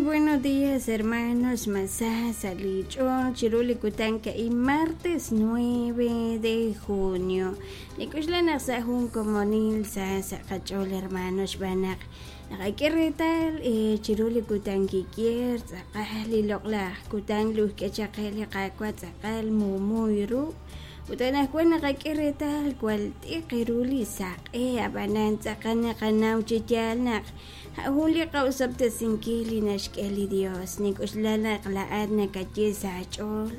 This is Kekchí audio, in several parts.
Buenos días, hermanos. Masá salich'ool chiru li kutan a'in martes 9 de junio. Nik'oxla naq sa' jun komonil sa sa' qach'ool hermano xb'aan naq naqak'e reetal chiru li kutan kikier tz'aqal li loq'laj kutan luhk'e chaq qe li Qaawa' tz'aqal muumuy ru. Ut anaqwan naqak'e reetal jwal t'iq ru li saq'e, ab'anan tz'aqal naqanaw chi yaal naq jun li qa'osob'tesinkil li naxk'e li Dios. Nink'oxla naq laa'at nakaye sa' aach'ool,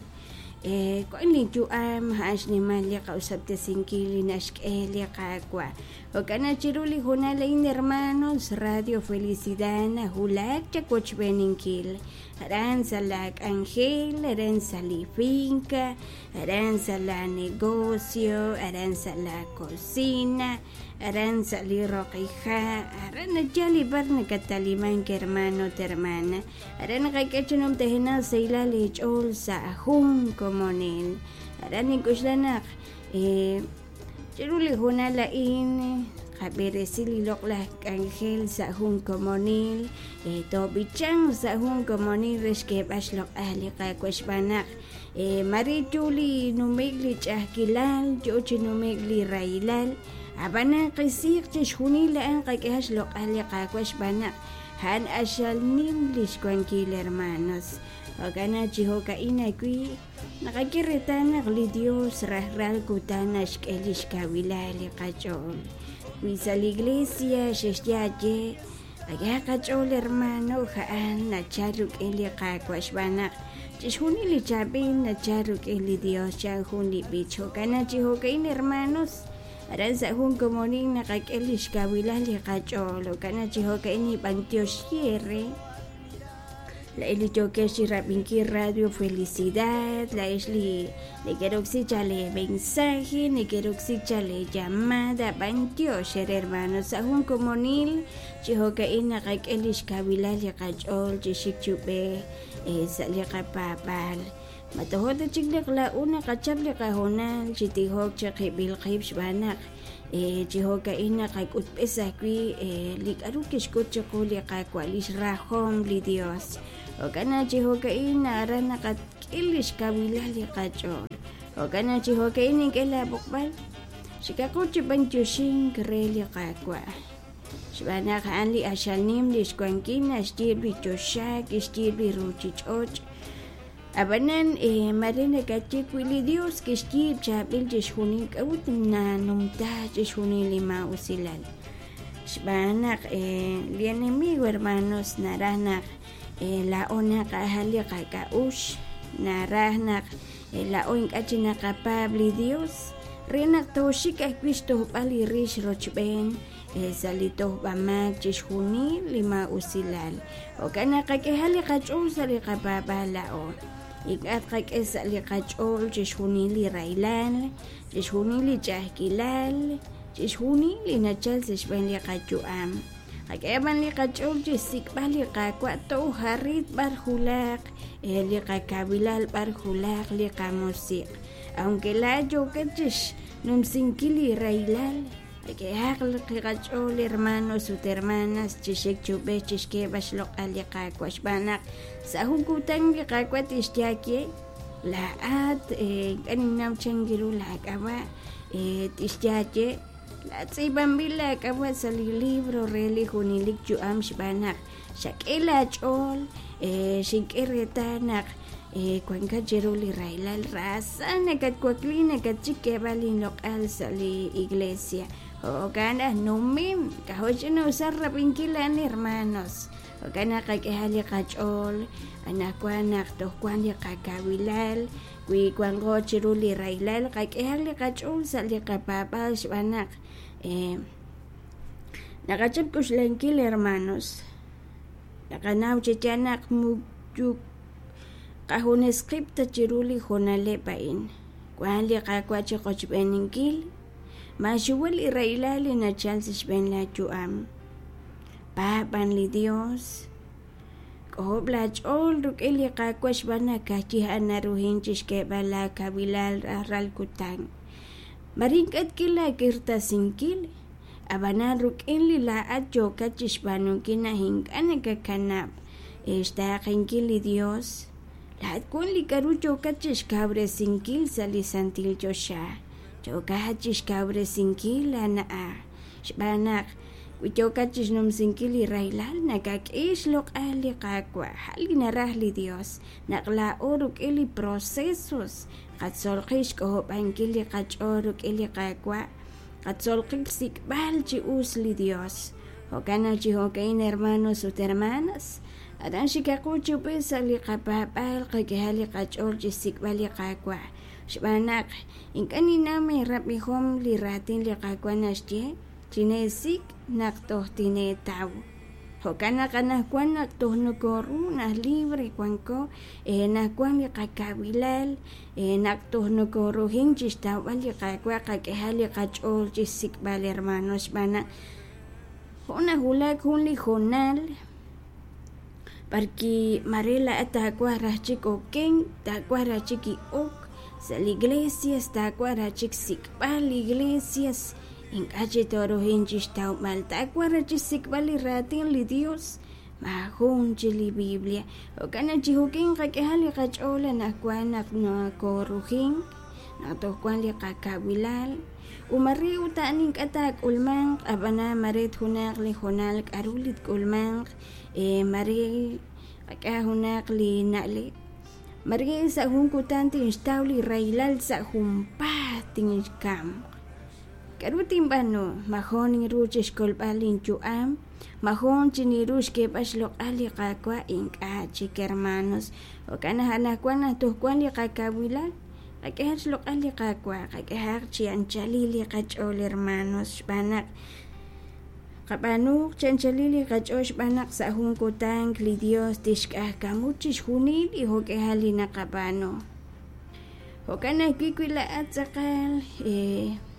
wan li yu'am a'an xnimal li qa'osob'tesinkil li naxk'e li Qaawa'. Jo'kan naq chiru li hoonal a'in, hermanos, Radio Felicidad nawulak chawochb'eeninkil. Aran sa' laa k'anjel, aran sa' li finca, aran sa' laa negocio, aran sa' laa cocina, aran sa' li roqija', aran yal b'ar nakatalimank, hermano ut hermana. Aran naqak'e chi numtajenaq sahilal eech'ool sa' jun komonil. Aran nink'oxla naq chiru li hoonal a'in qab'eresi li loq'laj k'anjel sa' jun komonil, toob'ichanq sa' jun komonil re xk'eeb'al xloq'al li Qaawa' xb'aan naq mare yo li nume'k li ch'a'ajkilal, yo chi nume'k li rahilal, ab'anan qisiiq chixjunil a'an qak'ehaq xloq'al li Qaawa' xb'aan naq a'an q'axal nim li xwankil, hermanos. Jo'kan naq chi jo'ka'in ajwi' naqak'e reetal naq li Dios rajlal kutan naxk'e li xkawilal li qach'ool. Wi sa' li iglesia xexye aye, qak'ehaq qach'ool, hermano, a'an nachal rik'in li Qaawa' xb'aan naq chixjunil li chaab'il nachal rik'in li Dios, chan jun li b'ich. Jo'kan naq chi jo'ka'in, hermanos, aran sa' jun komonil naqak'e li xkawilal li qach'ool. Jo'kan naq chi jo'ka'in nib'antioxi eere. Laa'ex li yookex chi rab'inkil Radio Felicidad, laa'ex li nekeroksi chaq lee mensaje, nekeroksi chaq lee llamada, b'antiox eere, hermano. Sa' jun komonil chi jo'ka'in naqak'e li xkawilal li qach'ool chi xik chi ub'ej sa' li qapaab'aal. Ma tojo' ta chik naq laa'o naqachap li qahoonal chi tijok chiqib'il qib' xb'aan naq chi jo'ka'in naqak'utb'es ajwi' li k'aru kixk'ut chiqu li Qaawa', li xrajom li Dios. Jo'kan naq chi jo'ka'in aran naqak'e li xkawilal li qach'ool. Jo'kan naq chi jo'ka'in nink'e laab'oqb'al, xikaqo chi b'antioxink re li Qaawa'. Xb'aan naq a'an li q'axal nim li xwankil naxyiib' li choxa, kixyiib' li ruuchich'och'. Ab'anan mare nakaye wi li Dios kixyiib' chaab'il chixjunil, k'a'ut nanumta chixjunil li maa'usilal? Xb'aan naq li enemigo, hermanos, naraj naq laa'o naqajal li qak'a'uxl, naraj naq laa'o ink'a' chi naqapaab' li Dios re naq tooxik ajwi' xtojb'al li rix rochb'een sa' li tojb'amaak chixjunil li maa'usilal. Jo'kan naq qak'ehaq li qach'ool sa' li qapaab'aal laa'o. Ink'a' tqak'e sa' li qach'ool chixjunil li rahilal, chixjunil li ch'a'ajkilal, chixjunil li nachal sa' xb'een li qayu'am. Qak'ehaq b'an li qach'ool chi xsik'b'al li Qaawa' toj arit b'ar julaq li qakawilal, b'ar julaq li qamusiq'. Aunque laa'at yookat chi xnumsinkil li rahilal, Qak'ehaq li qach'ool, hermanos ut hermanas, chi xik chi ub'ej chi xk'eeb'al xloq'al li Qaawa' xb'aan naq sa' jun kutan li Qaawa' tixye aawe, laa'at ink'a' ninnaw chan ru laak'ab'a', tixye aawe, laa'at tz'iib'anb'il laak'ab'a' sa' li libro re li junelik yu'am xb'aan naq xak'e laach'ool, xink'e reetal naq wankat chiru li rahilal, raasa nakatwakli nakatxik xk'eeb'al inloq'al sa' li iglesia. Jo'kan aj numim, k'ajo' ch'ina'usal rab'inkil a'an, hermanos. Jo'kan naq qak'ehaq li qach'ool anaqwan naq toj wank li qakawilal, wi wanqo chiru li rahilal, qak'ehaq li qach'ool sa' li qapaab'aal xb'aan naq naqachap k'oxlankil, hermanos. Naqanaw chi yaal naq muyu qajunes qib' ta chiru li hoonaleb' a'in. Wank li Qaawa' chi qochb'eeninkil. Maaxuwa li rahilal li nachal sa' xb'een laayu'am. Paab' b'an li Dios. K'ojob' laach'ool rik'in li Qaawa' xb'aan naq ka'ajwi' a'an naruhin chi xk'eeb'al laakawilal rajlal kutan. Mare ink'a' tk'e laak'irtasinkil, ab'anan rik'in li laa'at yookat chi xb'aanunkil naq ink'a' nakakanab' xtaaqenkil li Dios, laa'at wan li k'a'ru yookat chixkawresinkil sa' li santil choxa, yookat chixkawresinkil laa na'aj, xb'aan naq wi yookat chixnumsinkil li rahilal, nakak'e xloq'al li Qaawa', a' li naraj li Dios, naq laa'o rik'in li procesos qatzol qib' xk'ojob'ankil li qach'ool rik'in li Qaawa', qatzol qib' xsik'b'al chi us li Dios. Jo'kan naq chi jo'ka'in hermanos ut hermanas, aran xikaqo chi ub'ej sa' li qapaab'aal, qak'ehaq li qach'ool chi xsik'b'al li Qaawa', xb'aan naq ink'a' ninnaw eerab'ihom li raatin li Qaawa' naxye, Chineesik' naq toj tineetaw. Jo'kan naq anaqwan naq toj nokoru naq libre wanko, naq wan li qakawilal, naq toj nokoruhin chixtawb'al li Qaawa', qak'ehaq li qach'ool chixsik'b'al hermanos, xb'aan naq jo' nawulak jun li hoonal b'arwi' mare laa'at taawaj raj chik okenk, taawaj raj chik ok sa' li iglesias, taawaj raj chik xsik'b'al li iglesias, ink'a' chi tooruhin chixtawb'al, taawaj raj chixsik'b'al li raatin li Dios, maajun chi li Biblia. Jo'kan naq chi jo'kin qak'ehaq li qach'ool anaqwan naq nokoorujink, naq toj wan li qakawilal, ut mare ut a'an ink'a' taak'ulmanq, ab'anan mare junaq li hoonal k'aru li tk'ulmanq, mare qak'ehaq junaq li na'leb', mare sa' jun kutan tinxtaw li rahilal sa' junpaat tinkamq. K'aru tinb'aanu? Majoon ninru chi xkolb'al linyu'am, majoon chi ninru xk'eeb'al xloq'al li Qaawa', ink'a' chik hermanos. Jo'kan naq anaqwan naq toj wank li qakawilal, qak'ehaq xloq'al li Qaawa', qak'ehaq chi anchalil li qach'ool hermanos, xb'aan naq qab'aanuuq chi anchalil li qach'ool xb'aan naq sa' jun kutan li Dios tixk'ajkamu chixjunil li jo'k'ihal li naqab'aanu. Jo'kan ajwi' wi laa'at tz'aqal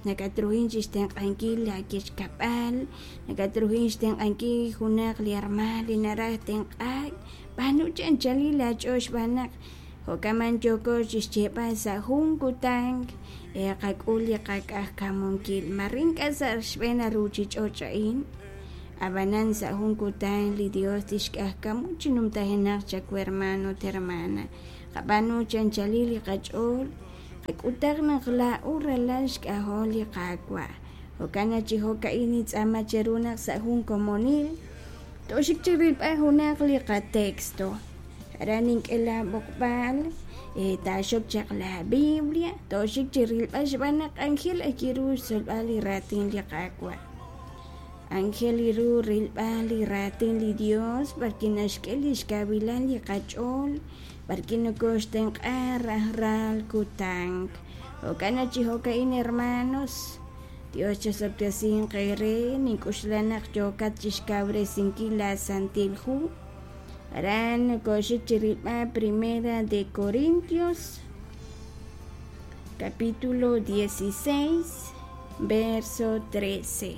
nakatruhin chixtenq'ankil laa wechkab'al, nakatruhin xtenq'ankil junaq li hermaan li naraj tenq'aak, b'aanu chi anchalil aach'ool xb'aan naq jo'kan yooko chixyeeb'al sa' jun kutan qak'ul li qak'ajkamunkil, mare ink'a' sa' xb'een a ruchich'och' a'in, ab'anan sa' jun kutan li Dios tixk'ajkamu chi numtajenaq chawu hermano ut hermana. Qab'aanu chi anchalil li qach'ool, qak'utaq naq laa'o ralal xk'ajol li Qaawa'. Jo'kan naq chi jo'ka'in nintz'aama cheru naq sa' jun komonil tooxik chi rilb'al junaq li qatexto. Aran nink'e laab'oqb'al, taaxok chaq laaBiblia, tooxik chi rilb'al xb'aan naq k'anjel ajwi' ru xtzolb'al li raatin li Qaawa'. Anjel ru rilb'al li raatin li Dios b'arwi' naxk'e li xkawilal li qach'ool, b'arwi' nokooxtenq'a rajlal kutan. Jo'kan naq chi jo'ka'in hermanos, Dios chosob'tesinq eere, nink'oxla naq yookat chixkawresinkil laa Santil Hu. Aran nokooxik chi rilb'al Primera de Corintios, capítulo 16, verso 13.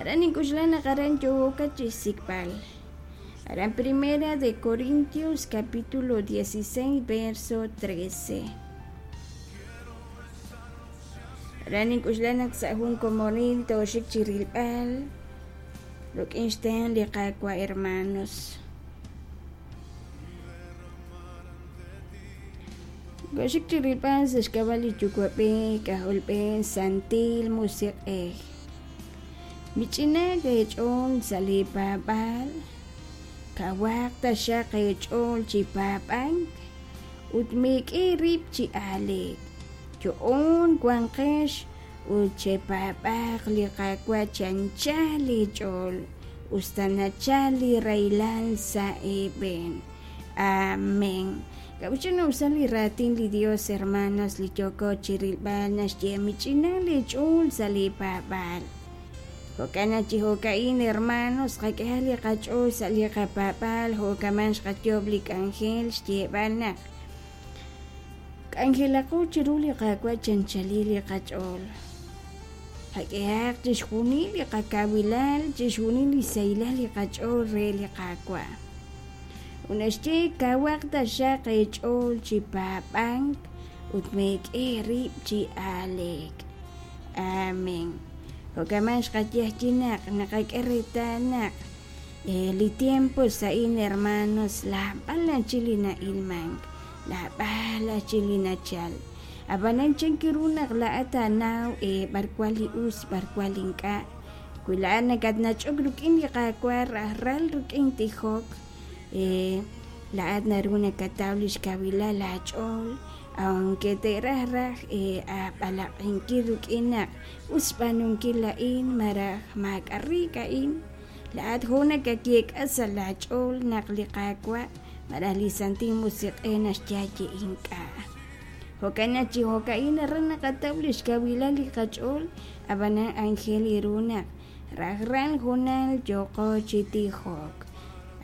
Aran nink'oxla naq aran yookat chixsik'b'al. Aran Primera de Corintios, capítulo 16, verso 13. Aran nink'oxla naq sa' jun komonil tooxik chi rilb'al rik'in xtenq' li Qaawa' hermanos. Koxik chi rilb'al sa' xk'ab'a' li Yuwa'b'ej, K'ajolb'ej, Santil Musiq'ej. Mich'inaak eech'ool sa' lee paab'aal, kawaq taxaq eech'ool chi paab'ank ut meek'e eerib' chi aaleek. Yo'oon wanqex ut chepaab'aaq li Qaawa' chi anchal eech'ool, us ta nachalk li rahilal sa' eeb'een. Amén. K'a'ut xch'ina'usal li raatin li Dios, hermanos, li yooko chirilb'al naxye mich'ina leech'ool sa' li paab'aal. Jo'kan naq chi jo'ka'in, hermanos, qak'ehaq li qach'ool sa' li qapaab'aal jo'kaman xqayoob' li k'anjel xyeeb'al naq k'anjelaqo chiru li Qaawa' chanchalil li qach'ool. Qak'ehaq chixjunil li qakawilal, chixjunil li sahilal li qach'ool re li Qaawa'. Ut naxye, Kawaq taxaq eech'ool chi paab'ank ut meek'e eerib' chi aaleek. Amén. Jo'kan xqaye ajwi' naq naqak'e reetal naq Li tiempos a'in hermanos naab'al chi li na'ilmank, naab'al chi li nachal. Ab'anan chan ru naq laa'at taanaw b'ar wan li us, b'ar wan li ink'a'? Wi laa'at nakatnach'ok rik'in li Qaawa' rajlal rik'in tijok, laa'at naru nakataw li xkawilal aach'ool, aunque te'raj raj aab'alaq'inkil rik'in naq us xb'aanunkil a'in malaj maak'a' riik a'in. Laa'at jun nakayeek'a sa' laach'ool naq li Qaawa' malaj li Santil Musiq'ej naxye ink'a'. Jo'kan naq chi jo'ka'in aran naqataw li xkawilal li qach'ool, ab'anan aajel ru naq rajlal hoonal yooqo chi tijok.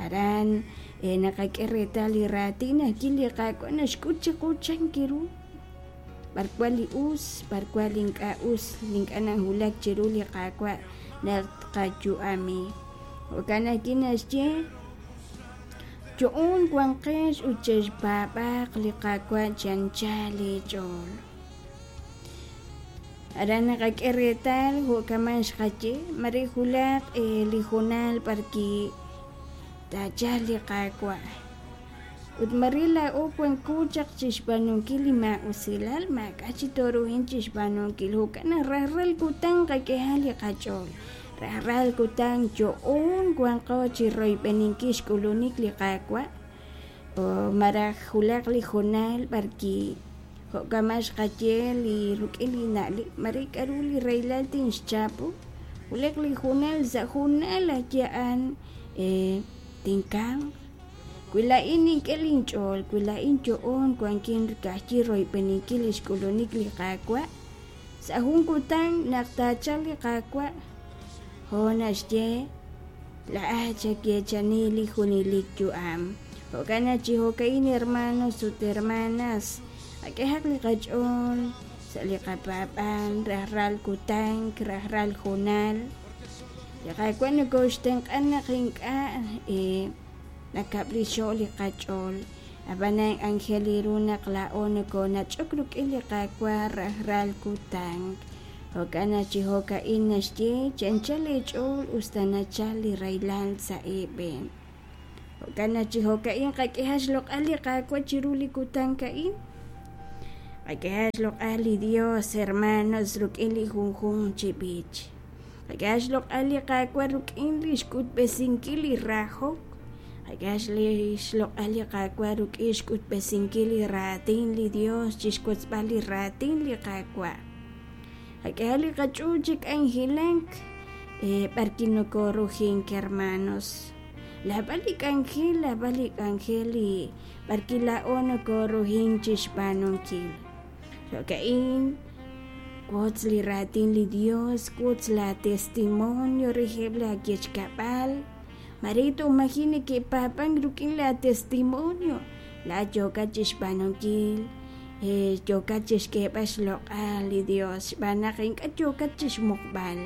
Aran naqak'e reetal li raatin ajwi' li Qaawa' naxk'ut chiqu chan ru b'ar wan li us, b'ar wan li ink'a' us, li ink'a' nawulak chiru li Qaawa' naq tqayu'ami. Jo'kan ajwi' naxye yo'oon wanqex ut chexpaab'aaq li Qaawa' chi anchal eech'ool. Aran naqak'e reetal jo' kaman xqaye, mare wulaq li hoonal b'arwi' taachalq li Qaawa'. Ut mare laa'o wanko chaq chi xb'aanunkil li maa'usilal, maak'a' chi tooruhin chi xb'aanunkil. Jo'kan naq rajlal kutan qak'ehaq li qach'ool, rajlal kutan yo'oon wanqo chi royb'eninkil xk'ulunik li Qaawa', malaj wulaq li hoonal b'arwi' jo' kama' xqaye li rik'in li na'leb' mare k'aru li rahilal tinxchapu, wulaq li hoonal sa' hoonal ajwi' a'an tinkamq. Wi laa'in nink'e linch'ool, wi laa'in yo'oon wankin ka'ajwi' royb'eninkil li xk'ulunik li Qaawa', sa' jun kutan naq taachalq li Qaawa', jo' naxye laa'at xayeechani li junelik yu'am. Jo'kan naq chi jo'ka'in hermanos ut hermanas, qak'ehaq li qach'ool sa' li qapaab'aal rajlal kutan, rajlal hoonal. Li Qaawa' nokooxtenq'a naq ink'a' nakab'lixo' li qach'ool, ab'anan aajel ru naq laa'o nokoonach'ok rik'in li Qaawa' rajlal kutan. Jo'kan naq chi jo'ka'in naxye chi anchal eech'ool us ta nachal li rahilal sa' eeb'een. Jo'kan naq chi jo'ka'in qak'ehaq xloq'al li Qaawa' chiru li kutan a'in. Qak'ehaq xloq'al li Dios, hermanos, rik'in li junjunq chi b'ich. Qak'ehaq xloq'al li Qaawa' rik'in li xk'utb'esinkil li rahok. Qak'ehaq xloq'al li Qaawa' rik'in xk'utb'esinkil li raatin li Dios, chixwotzb'al li raatin li Qaawa'. Qak'ehaq li qach'ool chi k'anjelak b'arwi' nokoorujink, hermanos. Naab'al li k'anjel, naab'al li k'anjel li b'arwi' laa'o nokoorujink chi xb'aanunkil. Jo'ka'in wotz li raatin li Dios, wotz laatestimonio reheb' laawechkab'al. Mare toj maji' neke'paab'ank rik'in laatestimonio, laa'at yookat chi xb'aanunkil, yookat chi xk'eeb'al xloq'al li Dios xb'aan naq ink'a' yookat chi xmuqb'al,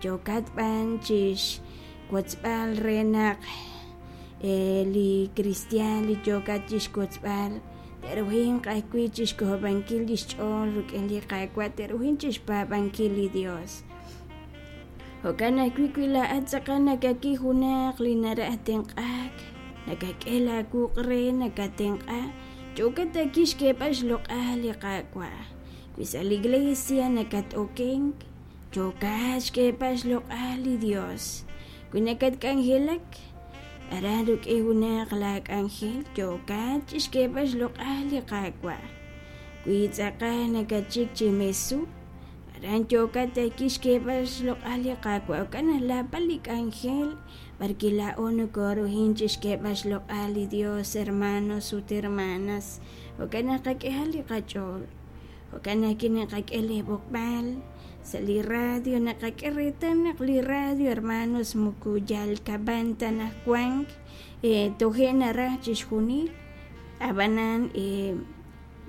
yookat b'an chi xwotzb'al re naq li kristiaan li yookat chi xwotzb'al te'ruhinq ajwi' chi xk'ojob'ankil li xch'ool rik'in li Qaawa', te'ruhinq chi xpaab'ankil li Dios. Jo'kan ajwi' wi laa'at tz'aqal nakak'i junaq li naraj tenq'aak, nakak'e laawuq' re nakatenq'a, yookat ajwi' xk'eeb'al xloq'al li Qaawa'. Wi sa' li iglesia nakat-okenk, yookat xk'eeb'al xloq'al li Dios. Wi nakatk'anjelak aran rik'in junaq laak'anjel, yookat chi xk'eeb'al xloq'al li Qaawa'. Wi tz'aqal nakatxik chi mesu, aran yookat ajwi' xk'eeb'al xloq'al li Qaawa'. Jo'kan naq naab'al li k'anjel b'arwi' laa'o nokoorujink chi xk'eeb'al xloq'al li Dios, hermanos ut hermanas. Jo'kan naq qak'ehaq li qach'ool. Jo'kan ajwi' naqak'e li b'oqb'al sa' li radio, naqak'e reetal naq li radio, hermanos, moko yal kab'an ta naq wank, toje' naraj chixjunil, ab'anan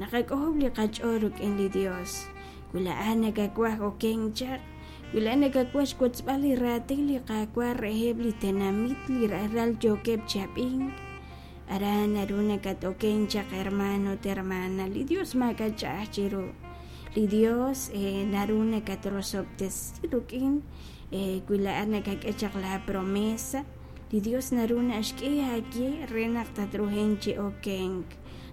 naqak'ojob' li qach'ool rik'in li Dios. Wi laa'at nakawaj okenk chaq, wi laa'at nakawaj xwotzb'al li raatin li Qaawa' reheb' li tenamit li rajlal yookeb' chi ab'ink, aran naru nakat-okenk chaq, hermano ut hermana. Li Dios maak'a' ch'a'aj chiru. Li Dios naru nakatrosob'tesi rik'in wi laa'at nakak'e chaq laa promesa. Li Dios naru naxk'e aaye re naq tatruhenq chi okenk.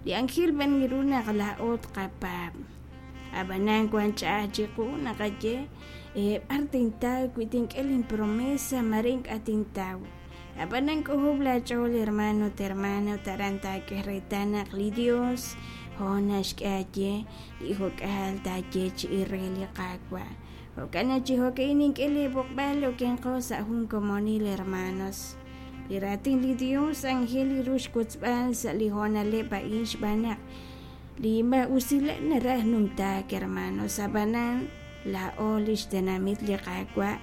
Li anjel b'an ru naq laa'o tqapaab'. Ab'anan wank ch'a'aj chiqu naqaye b'ar tintaw wi tink'e linpromesa mare ink'a' tintaw. Ab'anan k'ojob' laach'ool hermano ut hermana ut aran taak'e reetal naq li Dios hoon naxk'e aaye li jok'aal taayeechi'i re li Qaawa'. Jo'kan naq chi jo'ka'in nink'e leeb'oqb'al okenqo sa' jun komonil hermanos. Li raatin li Dios anjel ru xwotzb'al sa' li hoonaleb' a'in xb'aan naq li maa'usilal naraj numtaak hermanos, ab'anan laa'o li xtenamit li Qaawa'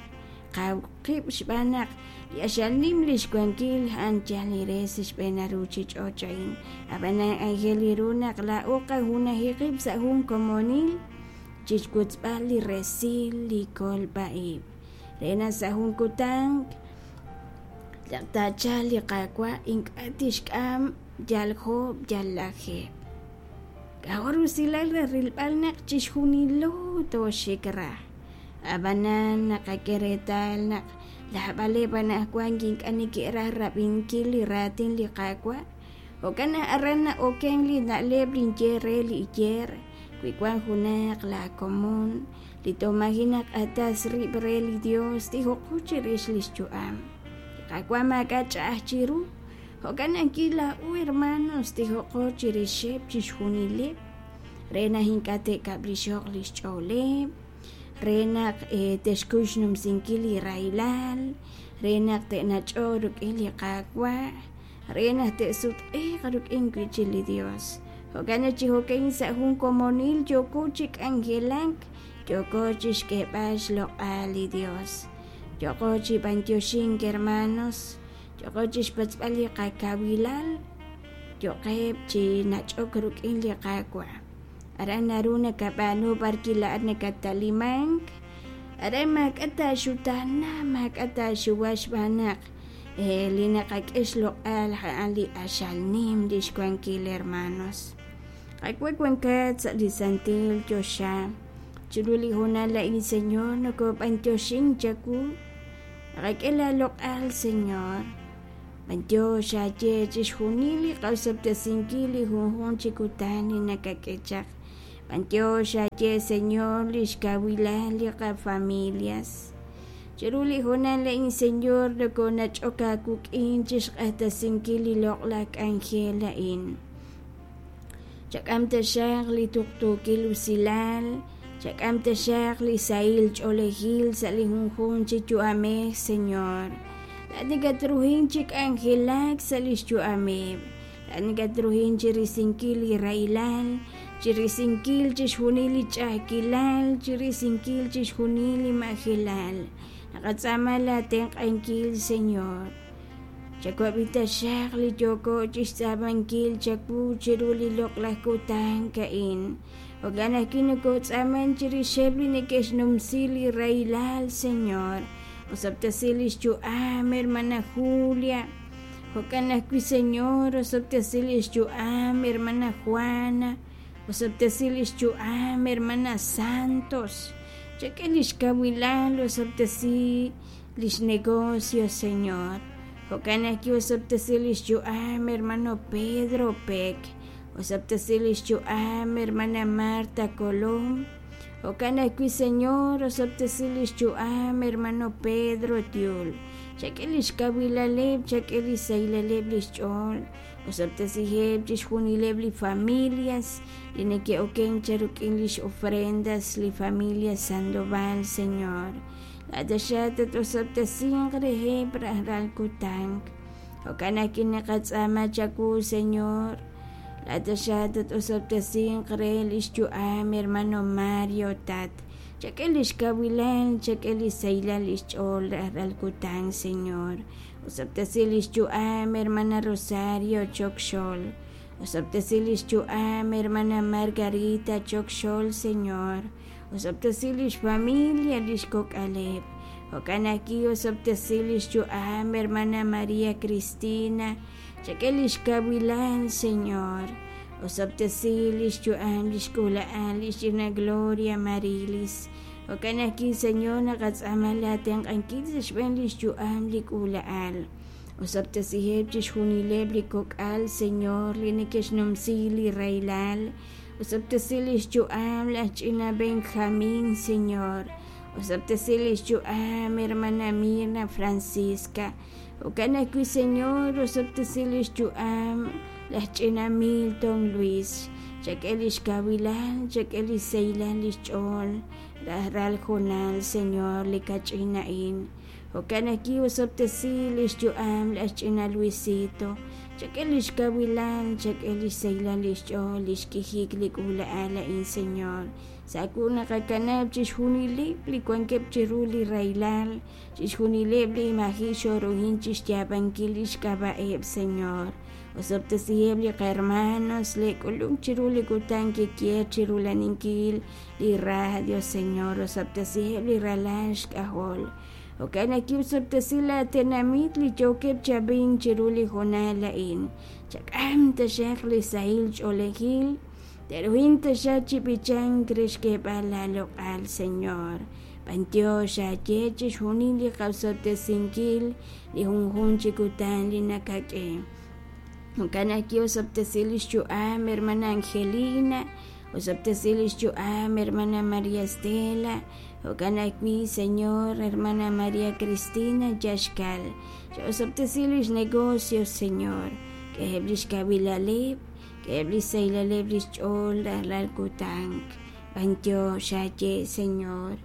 qaw qib' xb'aan naq li q'axal nim li xwankil a'an yal li re sa' xb'een ruuchich'och' a'in. Ab'anan aajel ru naq laa'o qajunaji qib' sa' jun komonil chi xwotzb'al li resil li kolb'a-ib' re naq sa' jun kutan naq taachalq li Qaawa' ink'a' tixk'am yal joob' yal lajeeb'. K'a'jo' rusilal re rilb'al naq chixjunilo tooxik raj. Ab'anan naqak'e reetal naq naab'aleb' anaqwan ink'a' neke'raj rab'inkil li raatin li Qaawa'. Jo'kan naq aran na'okenk li na'leb' li ninye re li iyeer, wi wank junaq laakomon li toj maaji' naq'atas rib' re li Yos, tijoqo chirix li xyu'am. Li Qaawa' maak'a' ch'a'aj chiru. Jo'kan ajwi' laa'o hermanos tijoqo chirixeb' chixjunileb' re naq ink'a' te'kab'lixo'q li xch'ooleb', re naq te'xkuy xnumsinkil li rahilal, re naq te'nach'oq rik'in li Qaawa', re naq te'sutq'iiq rik'in wi' chik li Yos. Jo'kan naq chi jo'ka'in sa' jun komonil yooko chi k'anjelak, yooko chi xk'eeb'al xloq'al li Yos. Yooko chi b'anyoxink hermanos, yooko chi xpatz'b'al li qakawilal, yo'qeb' chi nach'ok rik'in li Qaawa'. Aran naru nakab'aanu b'arwi' laa'at nakattalimank, aran maak'a' taaxutaana, maak'a' taaxuwa xb'aan naq li naqak'e xloq'al a'an li q'axal nim li xwankil hermanos. Qaawa' wankat sa' li santil choxa, chiru li hoonal a'in Señor nokob'anyoxink chawu, naqak'e laaloq'al Señor. B'anyox aaye chixjunil li qosob'tesinkil li junjunq chi kutan li nakak'e chaq. B'anyox aaye Señor li xkawilal li qafamilias. Chiru li hoonal a'in Señor nokonach'ok aawik'in chi xq'axtesinkil li loq'laj k'anjel a'in. Chak'am taxaq li tuqtuukil usilal, chak'am taxaq li sahil ch'oolejil sa' li junjunq chi yu'amej, Señor. Laa'at nakatruhin chi k'anjelak sa' li xyu'ameb'. Laa'at nakatruhin chi risinkil li rahilal, chi risinkil chixjunil li ch'a'ajkilal, chi risinkil chixjunil li majelal. Naqatz'aama laatenq'ankil, Señor. Chawab'i taxaq li yooko chi xtz'aamankil chawu chiru li loq'laj kutan a'in. Jo'kan ajwi' nokootz'aamank chirixeb' li neke'xnumsi li rahilal, Señor. Osob'tesi li xyu'am, hermana Julia. Jo'kan ajwi', Señor, osob'tesi li xyu'am, hermana Juana. Osob'tesi li xyu'am, hermana Santos. Chak'e li xkawilal, osob'tesi li xnegocio, Señor. Jo'kan ajwi' osob'tesi li xyu'am, hermano Pedro Pek. Osob'tesi li xyu'am, hermana Marta Colom. Jo'kan ajwi', Señor, osob'tesi li xyu'am, hermano Pedro Tiul. Chak'e li xkawilaleb', chak'e li sahilaleb' li xch'ool. Osob'tesiheb' chixjunileb' li familias li neke'okenk cha rik'in lix ofrendas li familia Sandoval, Señor. Laa'at taxaq tat-osob'tesinq reheb' rajlal kutan. Jo'kan ajwi' naqatz'aama chawu, Señor, laa'at taxaq tat-osob'tesinq re li xyu'am hermano Mario, Tat. Chak'e li xkawilal, chak'e li sahilal li xch'ool rajlal kutan, Señor. Osob'tesi li xyu'am hermana Rosario Chokxol. Osob'tesi li xyu'am hermana Margarita Chokxol, Señor. Osob'tesi li xfamilia, li xkok'aleb'. Jo'kan ajwi' osob'tesi li xyu'am hermana María Cristina. Chak'e li xkawilal, Señor. Osob'tesi li xyu'am li xk'uula'al li xch'ina Gloria Marilis. Jo'kan ajwi', Señor, naqatz'aama laatenq'ankil sa' xb'een li xyu'am li k'uula'al. Osob'tesiheb' chixjunileb' li kok'al, Señor, li neke'xnumsi li rahilal. Osob'tesi lix yu'am laj ch'ina Benjamin, Señor. Osob'tesi lix yu'am hermana Mirna Francisca. Jo'kan ajwi', Señor, osob'tesi lix yu'am laj ch'ina Milton Luis. Chak'e lix kawilal, chak'e lix sahilal lix ch'ool rajlal hoonal, Señor, li kach'in a'in. Jo'kan ajwi' osob'tesi lix yu'am laj ch'ina Luisito. Chak'e lix kawilal, chak'e lix sahilal lix ch'ool, lix k'ijik li k'uula'al a'in, Señor. Sa' wu naqakanab' chixjunileb' li wankeb' chiru li rahilal, chixjunileb' li maji' xoruhin chixyaab'ankil lix k'ab'a'eb', Señor. Osob'tesiheb' li qahermanos li k'ulunk chiru li kutan kikier chirulaninkil li radio, Señor. Osob'tesiheb' li ralal xk'ajol. Jo'kan ajwi' osob'tesi laa tenamit li yookeb' chi ab'ink chiru li hoonal a'in. Chak'am taxaq li sahil ch'oolejil. Te'ruhin taxaq chi b'ichank re xk'eeb'al laaloq'al, Señor. B'antiox aaye chixjunil li qaosob'tesinkil li junjunq chi kutan li nakak'e. Jo'kan ajwi' osob'tesi lix yu'am hermana Angelina, osob'tesi lix yu'am hermana María Estela, jo'kan ajwi' Señor, hermana María Cristina Yaxkal. Cha'osob'tesi lix negocio, Señor. K'eheb' lix kawilaleb', k'eheb' lix sahilaleb' lix ch'ool rajlal kutan. B'antiox aaye, Señor.